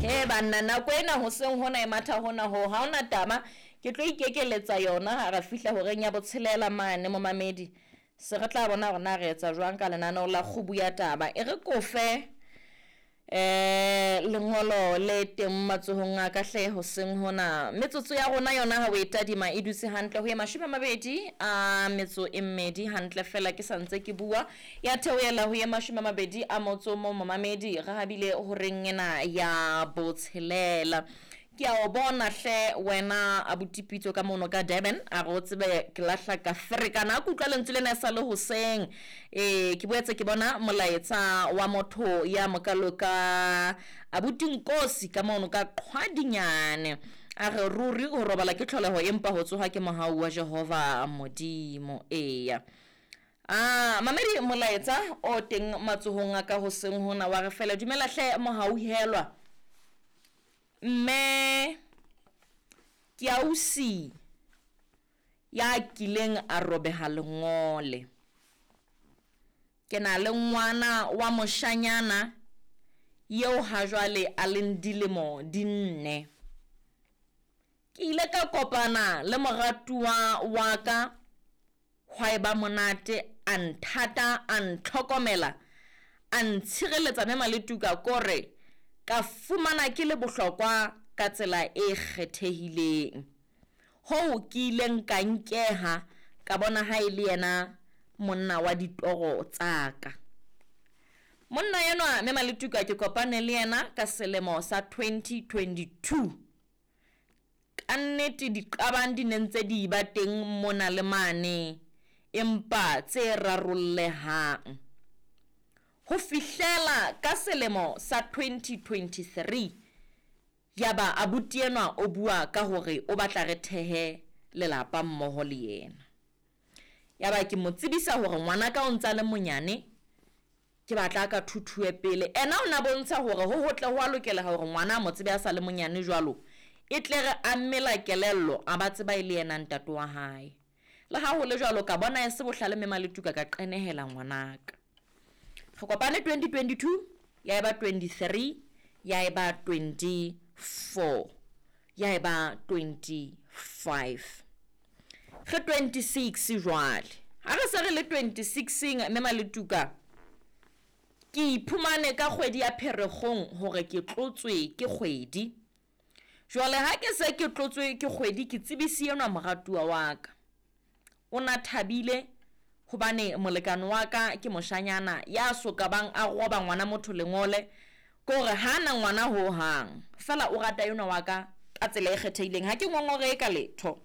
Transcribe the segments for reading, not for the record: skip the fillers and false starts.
He banna, nako ena hoseng hona e matha hona ho ha hona taba. Ke tlo ikekeletsa yona ha re fihla horeng ya botshelela mane, momamedi. Se re tla bona hore na re etsa jwang ka lenaneo la kgubu ya taba. E re kofe lengolo le teng matsohong a ka hle hoseng hona. Metsotso ya rona yona ha o e tadima e dutse hantle ho ye 24 hantle fela ke sa ntse ke bua. Ya theohela ho ye 21 momamedi, re habile horeng ena ya botshelela. Ke a o bona hle wena abuti Pitso ka mono ka Durban, a re o tsebe ke lahla ka ferekana. A ke utlwa lentswe lena e sa le hoseng. Ke boetse ke bona molaetsa wa motho ya mokalo ka abuti Nkosi ka mono ka Qhwadinyane. A re ruri ho robala ke tlholeho empa ho tsoha ke mohau wa Jehova Modimo. Eya. Mamedi, molaetsa o teng matsohong a ka hoseng hona wa re fela dumela hle mohauhelwa. Mme ke ausi ya kileng a robeha lengole. Ke na le ngwana wa moshanyana eo ha jwale a leng dilemo di 4. Ke ile ka kopana le moratuwa wa ka hwa eba monate, a nthata, a ntlhokomela, a ntshireletsa mme Maletuka kore ka fumana ke le bohlokwa ka tsela e kgethehileng. Hoo ke ileng ka nkeha ka bona ha e le yena monna wa ditoro tsa ka. Monna enwa mme Maletuka ke kopane le yena ka selemo sa 2022. Ka nnete diqabang di ne ntse di ba teng mona le mane, empa tse rarollehang. Ho fihlela ka selemo sa 2023, yaba abuti enwa o bua ka hore o batla re thehe lelapa mmoho le yena. Yaba ke mo tsebisa hore ngwanaka o ntsa le monyane, ke batla ka thuthuwe pele. Ena o na bontsha hore ho hotle ho a lokela hore ngwana a mo tsebe a sa le monyane jwalo, e tle re a mmela kelello a ba tseba e le yena ntate wa hae. Le ha ho le jwalo ka bona e se bohlale mme Maletuka ka qenehela ngwanaka. Re kopane 2022, ya eba 23, ya eba 24, ya eba 25. Re 26 jwale. Ha re se re le 26 mme Maletuka, ke iphumane ka kgwedi ya Pherekgong hore ke tlotswe ke kgwedi. Jwale ha ke se ke tlotswe ke kgwedi, ke tsebisi enwa moratuwa wa ka. O na thabile hobane molekane wa ka ke moshanyana ya so ka bang a roba ngwana motho lengole, ke hore ha na ngwana ho hang. Fela o rata enwa wa ka ka tsela e kgethehileng, ha ke ngongorehe ka letho.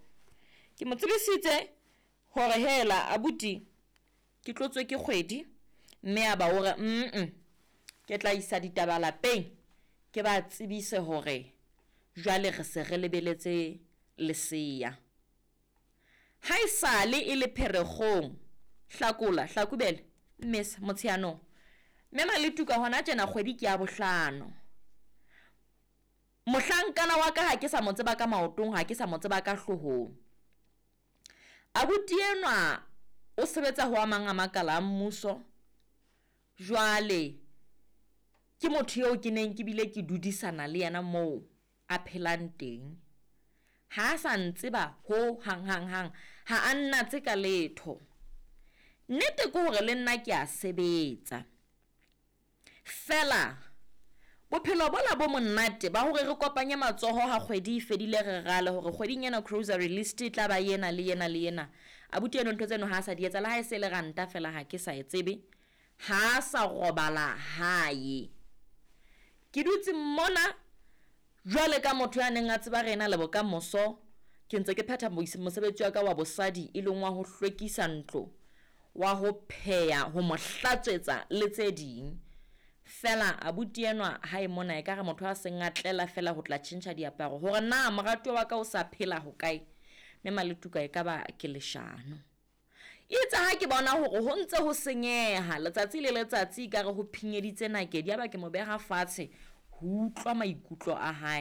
Ke mo tsebisitse hore hela abuti ke tlotswe ke kgwedi, mme a ba o re ke tla isa ditaba lapeng ke ba tsebise hore jwale re se re lebeletse lesea. Ha e sale e le Pherekgong, Hlakola, Hlakubele, Mmesa, Motsheanong. Mme Maletuka hona tjena kgwedi ke ya bohlano. Mohlankana wa ka ha ke sa mo tseba ka maotong, ha ke sa mo tseba ka hloohong. Abuti enwa o sebetsa ho a mang a makala a mmuso. Jwale ke motho eo ke neng ke bile ke dudisana le yena moo a phelang teng. Ha a sa ntseba ho hang hang hang, ha a nnatse ka letho. Nnete ke hore le nna ke a sebetsa. Fela bophelo bola bo monate ba hore re kopanye matsoho ha kgwedi e fedile re rale hore kgweding ena grocery list e tla ba ena le ena le ena. Abuti eno ntho tseno ha a sa di etsa, le ha e se le ranta fela ha ke sa e tsebe. Ha a sa robala hae. Ke dutse mona jwale ka motho ya neng a tseba re ena le bokamoso, ke ntse ke phetha mosebetsi wa ka wa bosadi e leng wa ho hlwekisa ntlo, wa ho pheha, ho mo hlatswetsa le tse ding. Fela abuti enwa ha e mona ekare motho a seng a tlela fela ho tla tjhentjha diaparo hore na moratuwa wa ka o sa phela hokae. Mme Maletuka e ka ba ke leshano. Itse ha ke bona hore ho ntse ho senyeha letsatsi le letsatsi ekare ho phinyeditse nakedi, yaba ke mo beha fatshe ho utlwa maikutlo a hae.